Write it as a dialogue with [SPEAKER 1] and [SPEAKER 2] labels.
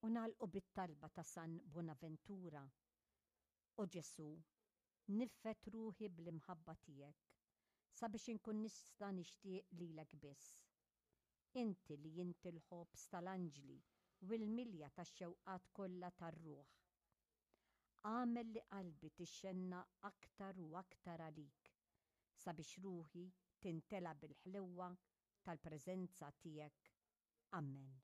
[SPEAKER 1] U nagħlqu bit-talba ta' San Bonaventura, O Ġesù, niffed ruħi bl-imħabba tiegħek, sabiex inkun nista' nixtieq lilek biss. Inti li inti l-ħobż tal-anġli u l-milja tax-xewqat kollha tar-ruħ. Agħmel li qalbi tixxennaq aktar u aktar għalik, sabiex ruħi tintela' bil-ħlewwa tal-preżenza tiegħek. Ammen.